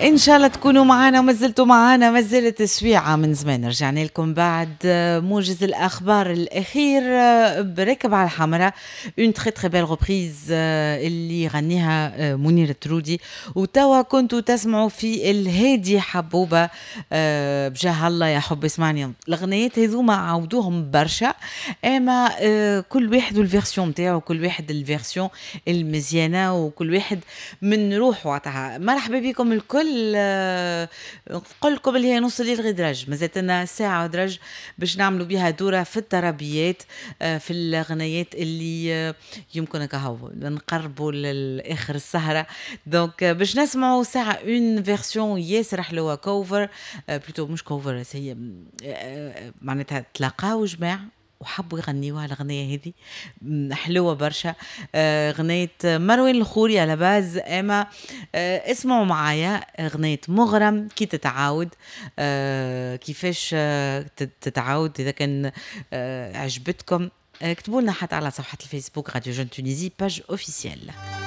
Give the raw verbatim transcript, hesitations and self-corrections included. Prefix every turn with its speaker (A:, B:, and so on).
A: ان شاء الله تكونوا معنا وما زلتوا معنا، ما زالت سويعة من زمان. رجعنا لكم بعد موجز الاخبار الاخير بركب على الحمراء، une très très belle reprise اللي غنيها منير الترودي. وتوا كنتوا تسمعوا في الهادي حبوبه، بجاه الله يا حب اسمعني. الغنيات هذوما عاودوهم برشا، اما كل واحد وال version نتاعو، كل واحد ال version المزيانه وكل واحد من روحه عطاها. مرحبا بكم الكل، نقول لكم اللي هي نص الليل غير درج، مازالت لنا ساعة ودرج باش نعملوا بها دورة في الترابيات، في الغنيات اللي يمكن كهو نقربوا لآخر السهرة. donc باش نسمعوا ساعة une version ياسر حلوة، cover plutôt، مش cover هي، معناتها تلاقاو جماعة وحبوا يغنيوها الغنية هذه، حلوة برشا، آه، غنية مروان الخوري à la base. اما آه، اسمعوا معايا غنية مغرم كي تتعاود، آه، كيفاش تتعاود. اذا كان عجبتكم اكتبوا لنا حتى على صفحة الفيسبوك Radio Jeune Tunisie page officielle.